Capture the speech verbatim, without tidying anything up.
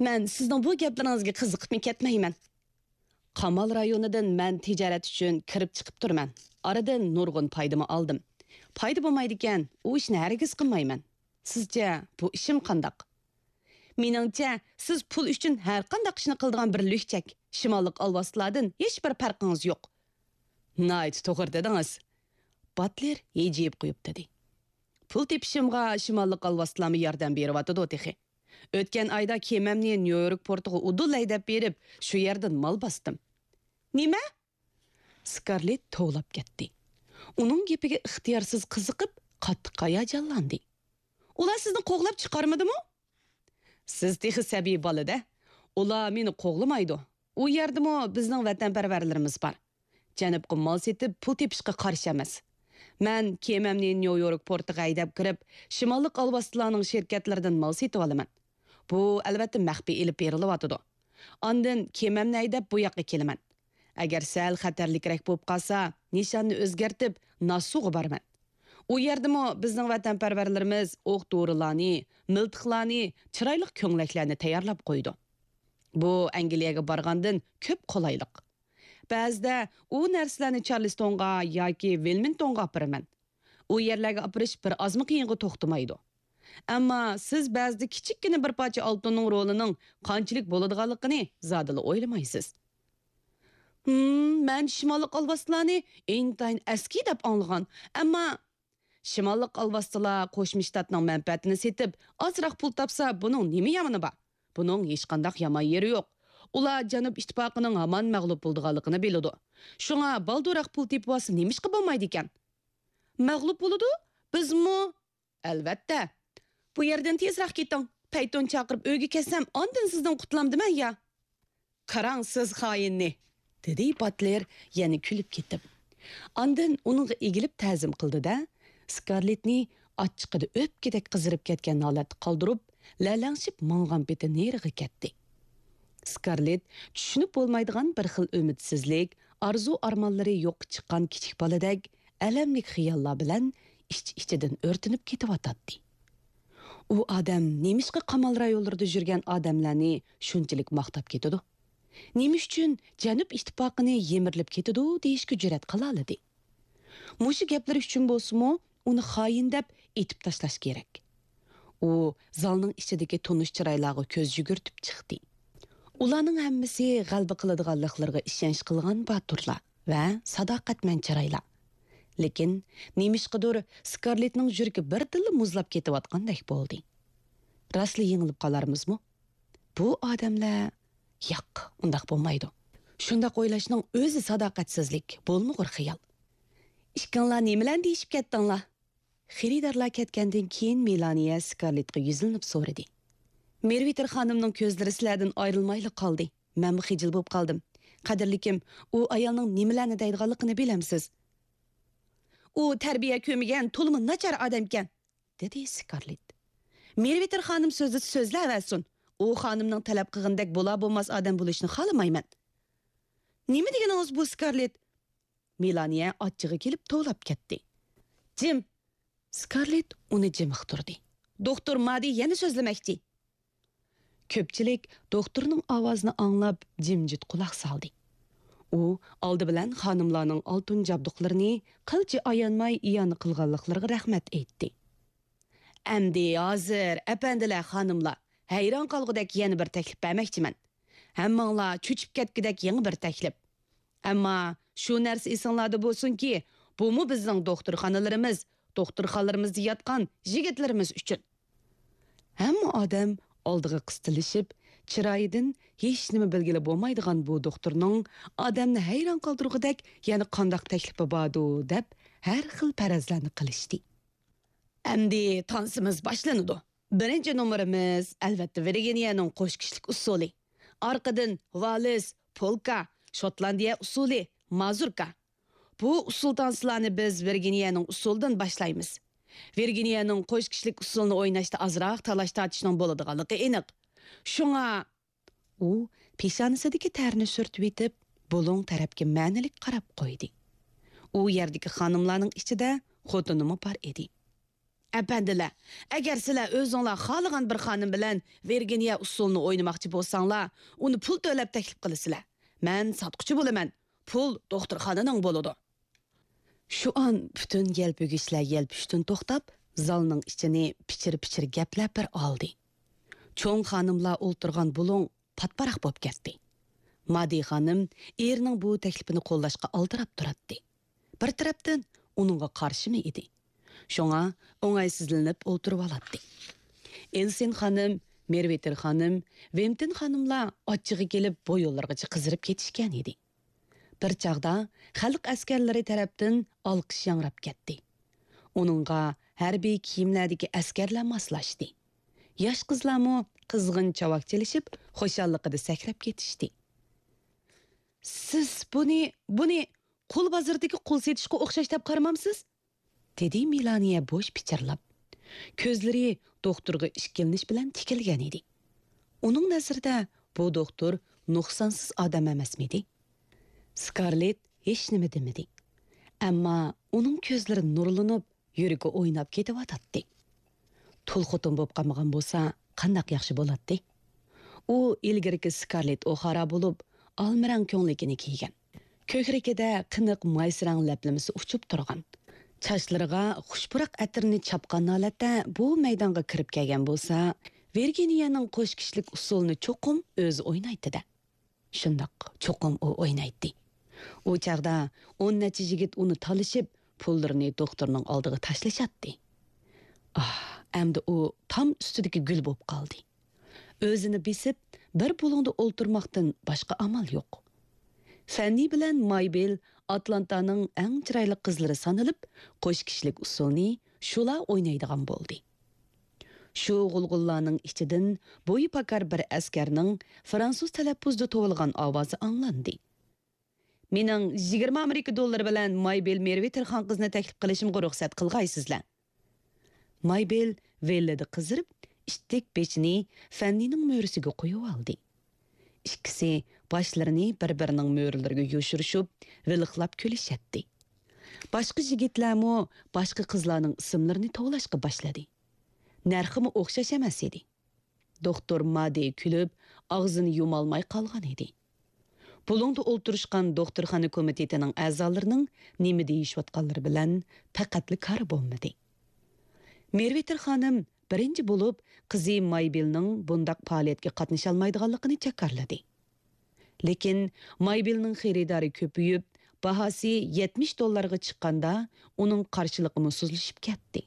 مەن سىزنىڭ بۇ گەپلىرىڭىزگە قىزىقىپمۇ كەتمەيمەن. قامال رايونىدىن مەن تىجارەت ئۈچۈن كىرىپ چىقىپ تۇرىمەن. ئارىدىن نۇرغۇن پايدىمۇ ئالدىم. پايدا بولمايدىكەن، ئۇ ئىشنى ھەرگىز قىلمايمەن. سىزچە، بۇ ئىشىم قانداق؟ مېنىڭچە، سىز پۇل ئۈچۈن ھەرقانداق ئىشنى قىلىدىغان بىر لۈكچەك، شىماللىق ئالۋاستىلاردىن ھېچبىر پەرقىڭىز يوق. ناھايىتى توغرا دېدىڭىز، باتلېر ھىجىيىپ قويۇپ دېدى. پۇل تېپىشىمغا شىماللىق ئالۋاستىلارمۇ ياردەم بېرىۋاتىدۇ تېخى. ئۆتكەن ئايدا كېمەمنى نيۇ يورك پورتىغا ئۇدۇل ھەيدەپ بېرىپ، شۇ يەردىن مال باستىم. نېمە؟ سكارلېت توۋلاپ كەتتى. ئۇنىڭ گېپىگە ئىختىيارسىز قىزىقىپ، قاتتىق ھاياجانلاندى. ئۇلار سىزنى قوغلاپ چىقارمىدىمۇ؟ سىز تېخى سەبىي بالا-دە. ئۇلار مېنى قوغلىمايدۇ. ئۇ يەردىمۇ بىزنىڭ ۋەتەنپەرۋەرلىرىمىز بار. جەنۇبقا مال سېتىپ پۇل تېپىشقا قارشى ئەمەس. مەن كېمەمنى نيۇ يورك پورتىغا ھەيدەپ كىرىپ، شىماللىق ئالۋاستىلارنىڭ شىركەتلىرىدىن مال سېتىۋالىمەن. بۇ، ئەلۋەتتە، مەخپىي ئېلىپ بېرىلىۋاتىدۇ. ئاندىن كېمەمنى ھەيدەپ بۇ ياققا كېلىمەن. ئەگەر سەل خەتەرلىكرەك بولۇپ قالسا، نىشاننى ئۆزگەرتىپ، ناسۇغا بارىمەن. ئۇ يەردىمۇ بىزنىڭ ۋەتەنپەرۋەرلىرىمىز ئوق-دورىلارنى، مىلتىقلارنى، چىرايلىق كۆڭلەكلەرنى تەييارلاپ قويىدۇ. بۇ ئەنگلىيەگە بارغاندىن كۆپ قولايلىق. بەزىدە ئۇ نەرسىلەرنى چارلىستونغا ياكى ۋىلمىنگتونغا ئاپىرىمەن. ئۇ يەرلەرگە ئاپىرىش بىر ئازمۇ قىيىنغا توختىمايدۇ. ئەمما سىز بەزىدە كىچىككىنە بىر پارچە ئالتۇننىڭ رولىنىڭ قانچىلىك بولىدىغانلىقىنى زادىلا ئويلىمايسىز. ھىم، مەن شىماللىق ئالۋاستىلارنى ئىنتايىن ئەسكى دەپ ئاڭلىغان. ئەمما شىماللىق ئالۋاستىلار قوشما شتاتنىڭ مەنپەئەتىنى سېتىپ، ئازراق پۇل تاپسا، بۇنىڭ نېمە يامىنى بار؟ بۇنىڭ ھېچقانداق يامان يېرى يوق. ئۇلار جەنۇب ئىتتىپاقىنىڭ ھامان مەغلۇپ بولىدىغانلىقىنى بىلىدۇ. شۇڭا بالدۇرراق پۇل تېپىۋالسا نېمىشقا بولمايدىكەن؟ مەغلۇپ بولىدۇ؟ بىزمۇ؟ ئەلۋەتتە. بۇ يەردىن تېزراق كېتىڭ. پەيتۇن چاقىرىپ ئۆيگە كەتسەم، ئاندىن سىزدىن قۇتۇلامدىمەن يا؟ قاراڭ سىز خائىننى، دېدى باتلېر يەنە كۈلۈپ كېتىپ. ئاندىن ئۇنىڭغا ئېگىلىپ تەزىم قىلدى-دە، سكارلېتنى ئاچچىقىدا ئۆپكىدەك قىزىرىپ كەتكەن ھالەتتە قالدۇرۇپ، لەلەڭشىپ ماڭغان پېتى نېرىغا كەتتى. سكارلېت چۈشىنىپ بولمايدىغان بىر خىل ئۈمىدسىزلىك، ئارزۇ-ئارمانلىرى يوققا چىققان كىچىك بالىدەك ئەلەملىك خىياللار بىلەن ئىچ-ئىچىدىن ئۆرتىنىپ كېتىۋاتاتتى. ئۇ ئادەم نېمىشقا قامال رايونلىرىدا يۈرگەن ئادەملەرنى شۇنچىلىك ماختاپ كېتىدۇ؟ نېمە ئۈچۈن جەنۇب ئىتتىپاقىنى يىمىرىلىپ كېتىدۇ دېيىشكە جۈرئەت قىلالىدى؟ مۇشۇ گەپلىرى ئۈچۈن بولسىمۇ، ئۇنى خائىن دەپ ئېتىپ تاشلاش كېرەك. ئۇ زالنىڭ ئىچىدىكى تونۇش چىرايلارغا كۆز يۈگۈرتۈپ چىقتى. ئۇلارنىڭ ھەممىسى غەلىبە قىلىدىغانلىقلىرىغا ئىشەنچ قىلغان باتۇرلار ۋە ساداقەتمەن چىرايلار. لېكىن نېمىشقىدۇر سكارلېتنىڭ يۈرىكى بىردىنلا مۇزلاپ كېتىۋاتقاندەك بولدى. راستلا يېڭىلىپ قالارمىزمۇ؟ بۇ ئادەملەر، ياق، ئۇنداق بولمايدۇ. شۇنداق ئويلاشنىڭ ئۆزى ساداقەتسىزلىك، بولمىغۇر خىيال. ئىككىڭلار نېمىلەرنى دېيىشىپ كەتتىڭلار؟ خېرىدارلار كەتكەندىن كېيىن مېلانىيە سكارلېتقا يۈزلىنىپ سورىدى. مېرۋىتېر خانىمنىڭ كۆزلىرى سىلەردىن ئايرىلمايلا قالدى. مەنمۇ خىجىل بولۇپ قالدىم. قەدىرلىكىم، ئۇ ئايالنىڭ نېمىلەرنى دەيدىغانلىقىنى بىلەمسىز؟ ئۇ تەربىيە كۆرمىگەن، تولىمۇ ناچار ئادەمكەن، دېدى سكارلېت. مېرۋىتېر خانىم سۆزلىسە سۆزلەۋەرسۇن. ئۇ خانىمنىڭ تەلەپ قىلغىنىدەك بولا بولماس ئادەم بولۇشنى خالىمايمەن. نېمە دېگىنىڭىز بۇ، سكارلېت؟ مېلانىيە ئاچچىقى كېلىپ توۋلاپ كەتتى. جىم! سكارلېت ئۇنى جىم ئۇقتۇردى. دوختۇر مادى يەنە سۆزلىمەكچى. كۆپچىلىك دوختۇرنىڭ ئاۋازىنى ئاڭلاپ جىمجىت قۇلاق سالدى. ئۇ ئالدى بىلەن خانىملارنىڭ ئالتۇن جابدۇقلىرىنى قىلچە ئايانماي ئىئانە قىلغانلىقلىرىغا رەھمەت ئېيتتى. ئەمدى ھازىر، ئەپەندىلەر، خانىملار، ھەيران قالغۇدەك يەنە بىر تەكلىپ بەرمەكچىمەن. ھەممىڭلار چۆچۈپ كەتكۈدەك يېڭى بىر تەكلىپ. ئەمما شۇ نەرسە ئېسىڭلاردا بولسۇنكى، بۇمۇ بىزنىڭ دوختۇرخانىلىرىمىز، دوختۇرخانىلىرىمىزدا ياتقان يىگىتلىرىمىز ئۈچۈن. ھەممە ئادەم ئالدىغا قىستىلىشىپ، چىرايىدىن ھېچنېمە بىلگىلى بولمايدىغان بۇ دوختۇرنىڭ ئادەمنى ھەيران قالدۇرغۇدەك يەنە قانداق تەكلىپى باردۇ دەپ ھەر خىل پەرەزلەرنى قىلىشتى. ئەمدى تانسىمىز باشلىنىدۇ. بىرىنچى نومۇرىمىز، ئەلۋەتتە، ۋىرگىنىيەنىڭ قوشكېچىلىك ئۇسسۇلى. ئارقىدىن ۋالس، پولكا، شوتلاندىيە ئۇسسۇلى، مازۇركا. بۇ ئۇسسۇل تانسىلارنى بىز ۋىرگىنىيەنىڭ ئۇسسۇلىدىن باشلايمىز. ۋىرگىنىيەنىڭ قوشكېچىلىك ئۇسسۇلىنى ئويناشتا ئازراق تالاش-تارتىشنىڭ بولىدىغانلىقى ئېنىق. شۇڭا، ئۇ پېشانىسىدىكى تەرنى سۈرتۈۋېتىپ، بۇلۇڭ تەرەپكە مەنىلىك قاراپ قويدى. ئۇ يەردىكى خانىملارنىڭ ئىچىدە خوتۇنىمۇ بار ئىدى. ئەپەندىلەر، ئەگەر سىلەر ئۆزۈڭلار خالىغان بىر خانىم بىلەن ۋىرگىنىيە ئۇسسۇلىنى ئوينىماقچى بولساڭلار، ئۇنى پۇل تۆلەپ تەكلىپ قىلىسىلەر. مەن ساتقۇچى بولىمەن، پۇل دوختۇرخانىنىڭ بولىدۇ. شۇ ئان پۈتۈن يەلپۈگۈچلەر يەلپۈشتىن توختاپ، زالنىڭ ئىچىنى پىچىر-پىچىر گەپلەپ بىر ئالدى. چوڭ خانىملار ئولتۇرغان بۇلۇڭ پاتپاراق بولۇپ كەتتى. مادى خانىم ئېرىنىڭ بۇ تەكلىپىنى قوللاشقا ئالدىراپ تۇراتتى. بىر تەرەپتىن ئۇنىڭغا قارشىمۇ ئىدى. شۇڭا ئوڭايسىزلىنىپ ئولتۇرۇۋالاتتى. ئېلسىن خانىم، مېرۋېتېر خانىم، ۋېمتىن خانىملار ئاچچىقى كېلىپ بويۇنلىرىغىچە قىزىرىپ كېتىشكەن ئىدى. بىر چاغدا خەلق ئەسكەرلىرى تەرەپتىن ئالقىش ياڭراپ كەتتى. ئۇنىڭغا ھەربىي كىيىملەردىكى ئەسكەرلەر ماسلاشتى. ياش قىزلارمۇ قىزغىن چاۋاك چېلىشىپ، خۇشاللىقىدا سەكرەپ كېتىشتى. «سىز بۇنى، بۇنى قۇل بازىرىدىكى قۇل سېتىشقا ئوخشاش دەپ قارىمامسىز؟» دېدى مېلانىيە بوش پىچىرلاپ. كۆزلىرى دوختۇرغا ئىككىلىنىش بىلەن تىكىلگەن ئىدى. ئۇنىڭ نەزىرىدە بۇ دوختۇر نۇقسانسىز ئادەم ئەمەسمىدى؟ سكارلېت ھېچنېمە دېمىدى. ئەمما ئۇنىڭ كۆزلىرى نۇرلىنىپ، يۈرىكى ئويناپ كېتىۋاتاتتى. تۇل خوتۇن بولۇپ قالمىغان بولسا، قانداق ياخشى بولاتتى. ئۇ ئىلگىرىكى سكارلېت ئوخارا بولۇپ، ئالمىرەڭ كۆڭلىكىنى كىيگەن. كۆكرىكىدە قېنىق مايسىرەڭ لەپلىمىسى ئۇچۇپ تۇرغان. چاچلىرىغا خۇش پۇراق ئەتىرىنى چاپقان ھالەتتە بۇ مەيدانغا كىرىپ كەلگەن بولسا، ۋىرگىنىيەنىڭ قوش كىشىلىك ئۇسسۇلىنى چوقۇم ئۆزى ئوينايتتى-دە. شۇنداق، چوقۇم ئۇ ئوينايتتى. ئۇ چاغدا ئون نەچچە يىگىت ئۇنى تالىشىپ، پۇللىرىنى دوختۇرنىڭ ئالدىغا تاشلىشاتتى. ئاھ، ئەمدى ئۇ تام ئۈستىدىكى گۈل بولۇپ قالدى. ئۆزىنى بېسىپ، بىر بۇلۇڭدا ئولتۇرماقتىن باشقا ئامال يوق. فەننى بىلەن مايبېل ئاتلانتانىڭ ئەڭ چىرايلىق قىزلىرى سانىلىپ، قوش كىشىلىك ئۇسسۇلنى شۇلا ئوينايدىغان بولدى. شۇ غۇلغۇللارنىڭ ئىچىدىن بويى پاكار بىر ئەسكەرنىڭ فرانسۇز تەلەپپۇزدا توۋلىغان ئاۋازى ئاڭلاندى. «مېنىڭ يىگىرمە ئامېرىكا دوللىرى بىلەن مايبېل مېرۋېتېر خان قىزنى تەكلىپ قىلىشىمغا رۇخسەت قىلغايسىزلەر.» مايبېل ۋىللىدە قىزىرىپ، ئىتتىك بېشىنى فەننىنىڭ مۈرىسىگە قويۇۋالدى. ئىككىسى باشلىرىنى بىر-بىرىنىڭ مۈرىلىرىگە يوشۇرۇشۇپ، ۋىلىقلاپ كۈلۈشەتتى. باشقا يىگىتلەرمۇ باشقا قىزلارنىڭ ئىسىملىرىنى توۋلاشقا باشلىدى. نەرخىمۇ ئوخشاش ئەمەس ئىدى. دوختۇر مادى كۈلۈپ، ئاغزىنى يۇمالماي قالغان ئىدى. بۇلۇڭدا ئولتۇرۇشقان دوختۇرخانا كومىتېتىنىڭ ئەزالىرىنىڭ نېمە دېيىشىۋاتقانلىرى بىلەن پەقەتلا كارى بولمىدى. مېرۋېتېر خانىم بىرىنچى بولۇپ قىزى مايبېلنىڭ بۇنداق پائالىيەتكە قاتنىشالمايدىغانلىقىنى جاكارلىدى. لېكىن مايبېلنىڭ خېرىدارى كۆپىيىپ، باھاسى يەتمىش دوللارغا چىققاندا، ئۇنىڭ قارشىلىقىمۇ سۇسلىشىپ كەتتى.